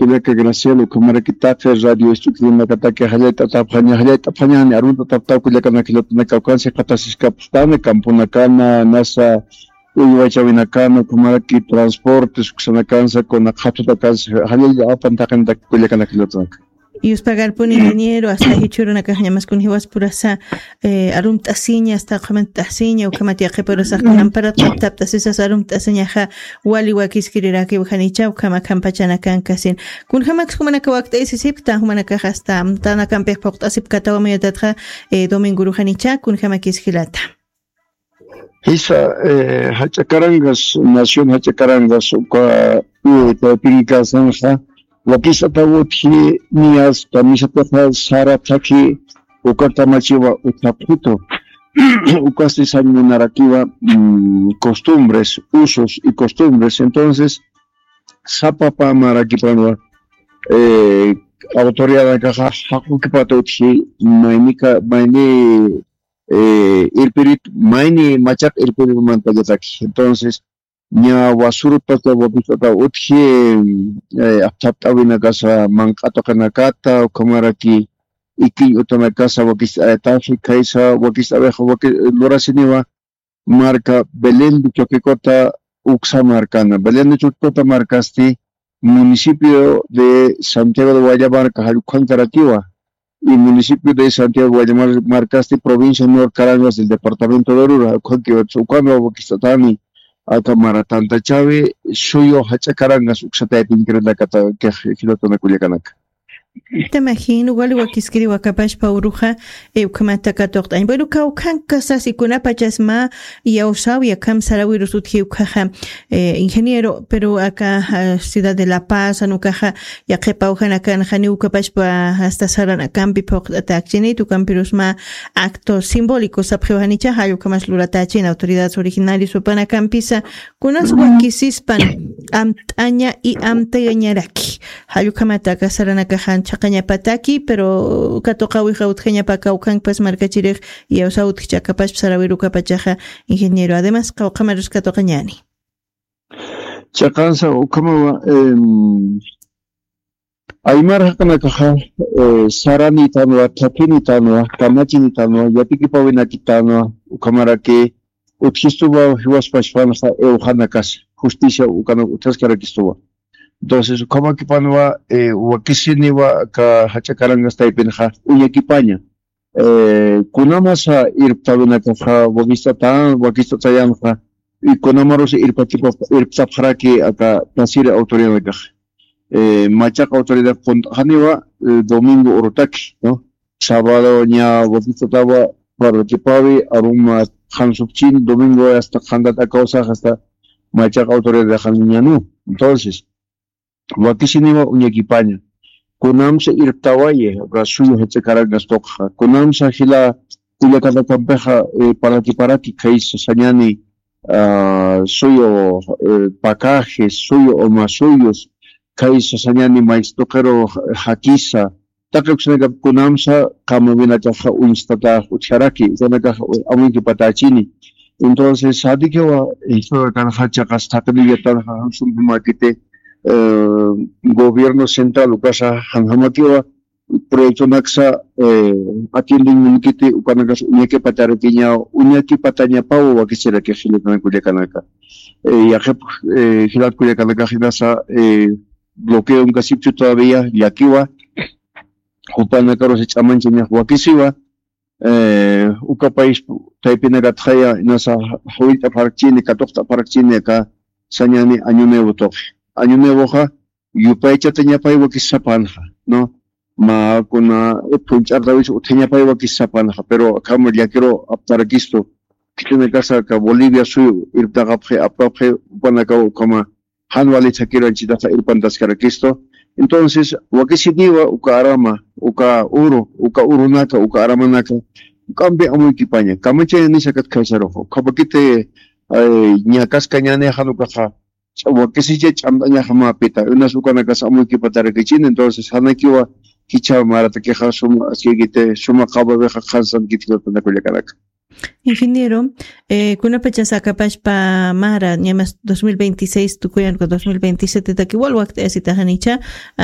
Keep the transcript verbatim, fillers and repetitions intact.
Kullaka Graciela, ukhamaraki taqi radio estudianakataki jallayt'atapxaña, jallayt'apxañani, aruntataptaw kullakanaka jilatanaka, ukansi qatasiskapxtani, camponakana, nasa, uywachawinakana, ukhamaraki transportes, uksanakansa, kuna qhatutakansa, jallalla apan taqinataki kullakanaka jilatanaka. Yuspagarpuni, ingeniero, hasta jichhurunakax ñamaskun jiwaspurasa, eh, arumt'asiña, hasta qhamantt'asiña, ukhamat yaqhipurasaq kunamparat qhaptapt'asisas arumt'asiñaxa, wali wakiskirirakiw janicha, ukhama khampachanakankasin. Kunjamakis jumanaka wakt'aysisipkta, jumanakax hasta amtanakampix phuqt'asipkatawa mayatatxa, eh, domingoru janicha, kunjamakis jilata. Jisa, eh, jach'a karangas, nación jach'a karangas, uka, eh, taypinkasanxa, wakist'ataw utji niyas, kamisataxa sara thakhi, uka kamachiwa uthapxitu. Ukasti sañ munarakiwa, mm, costumbres, usos y costumbres. Entonces, sapa pamarakipanwa, eh, autoridadakaxa jaqukipata utji, maynika, mayni, eh, irpirit, mayni machaq irpiritmantallataki. Entonces, ña wasurutpata wakist'ata utji, eh, apthapt'awinakasa manq'atuqinakata, ukhamaraki ikiñ utanakasa wakist'ayataxi, khaysa wakist'awixa waki-, lurasiniwa marka Belén de Choquicota uksa markana. Belén de Choquicota markasti municipio de Santiago de Guayamarca jallukhankarakiwa. Y municipio de Santiago de Guayamarca, marcasti provincia Norcarangas del departamento de Oruro, jallukhankiwa, ukanwa wakist'atani, aka mara tantachawi, suyu jach'a karangas uksataypinkirinakata, kix jilatana kullakanaka. Tamajin, wali wakiskiri wakapashpa uruxa, eh, ukhamata katuqt'añ. Bueno, kawkhankasas ikunapachas mä iyawsawi akham sarawirus utji ukhaxa, eh, ingeniero, pero aka, ah, ciudad de La Paz, anukaxa, yaqhipaw janakan janiw ukapashpa hasta saranakampi phuqt'atäkchinit, ukampirus mä acto simbólico sapxiw janicha, jall ukhamas luratächin autoridades originarios jupanakampisa, kunas wakisispan amt'aña y amtayañaraki. Jall ukhamata aka saranakaxan chhaqañapataki, pero katuqawixa utjañapa kawkhankapas markachirix iyawsaw utjcha akapashpa sarawirukapachaxa, ingeniero. Además, qawqhamarus katuqañani. Chiqansa ukhamawa, em, aymar jaqinakaxa, eh, saranitanwa, thakinitanwa, kamachinitanwa, yatikipäwinakitanwa, ukhamaraki utjistuwa jiwaspachpanxa iwxanakasa, justicia ukanak utjaskarakistuwa. Entonces, ukhamakipanwa, eh, wakisiniwa aka jach'a karangas taypinxa uñakipaña. Eh, kunamasa irptawinakaxa wakist'ata-, wakist'atayanxa, y kunamarusa irptakipa-, irptapxaraki aka tasiri autoridadnakaxa. Eh, machaq autoridad qunt'xaniwa, eh, domingo urutaki, ¿no? Sábado ña wakist'atawa parlakipawi, aruma qhansupchin, domingo hasta qhantat akawsax hasta machaq autoridad xaniñanu. Entonces, wakisiniwa uñakipaña. Kunamsa irptawayi, uka suyu jach'a karangas tuqxa. Kunamsa jila kullakanakampixa, eh, parlakiparaki khaysa sañani, ah, suyu, eh, pacajes, suyu umasuyus, khaysa sañani maysa tuqiru jakisa, taqi uksanakap kunamsa qamawinakaxa uñstatax utjaraki, ukanakaxa amuykipatächini. Entonces, jatikiwa, eh, jichhürukanxa chiqas thaqinillatanxa, jan sumpimäkiti, eh, gobierno central ukasa, janjamakiwa, proyectonaksa, eh, atiendeñ munkiti, ukanakasa uñakipatarakiña, uñakipatañapaw wakisiraki jilatana kullakanaka. Eh, yaqhip, eh, jilat kullakanakax inasa, eh, bloqueo unkasipchu todavía, llakiwa, jupanakarus ch'amanchañax wakisiwa, eh, uka país taypinakatxaya inasa jawillt'apxarakchini, katuqt'apxarakchini aka sañani año nuevo tuqi. Año nuevoxa yupaychatañapay wakisisapänxa, ¿no? Mä kuna phuñch'artawis utjañapay wakisisapänxa, pero akham llakiru aptarakistu. Khitinakasa aka Bolivia suyu irptaqapxi, aptapxi, jupanakaw ukhama jan wali thakir anchitaxa irpantaskarakistu. Entonces, wakisiniwa uka arama, uka uru, uka urunaka, uka aramanaka, juk'ampi amuykipaña. Kamachañanisa kat khaysaruxa. Ukhapakiti, eh, ñakaskañäni jan ukaxa, ch'a-, wakisicha ch'amt'añaxa mä pita. Unas ukanakas amuykipatarakichin, entonces, janakiwa jichha maratakixa suma, askikiti, suma qhawawixa qhansankiti jilatana kullakanaka. Ingeniero, eh, kunapachas akapashpa mara, ñamas dos mil veintiséis tukuyan, dos mil veintisiete taki wal wakt'ayasitaxanicha, ah,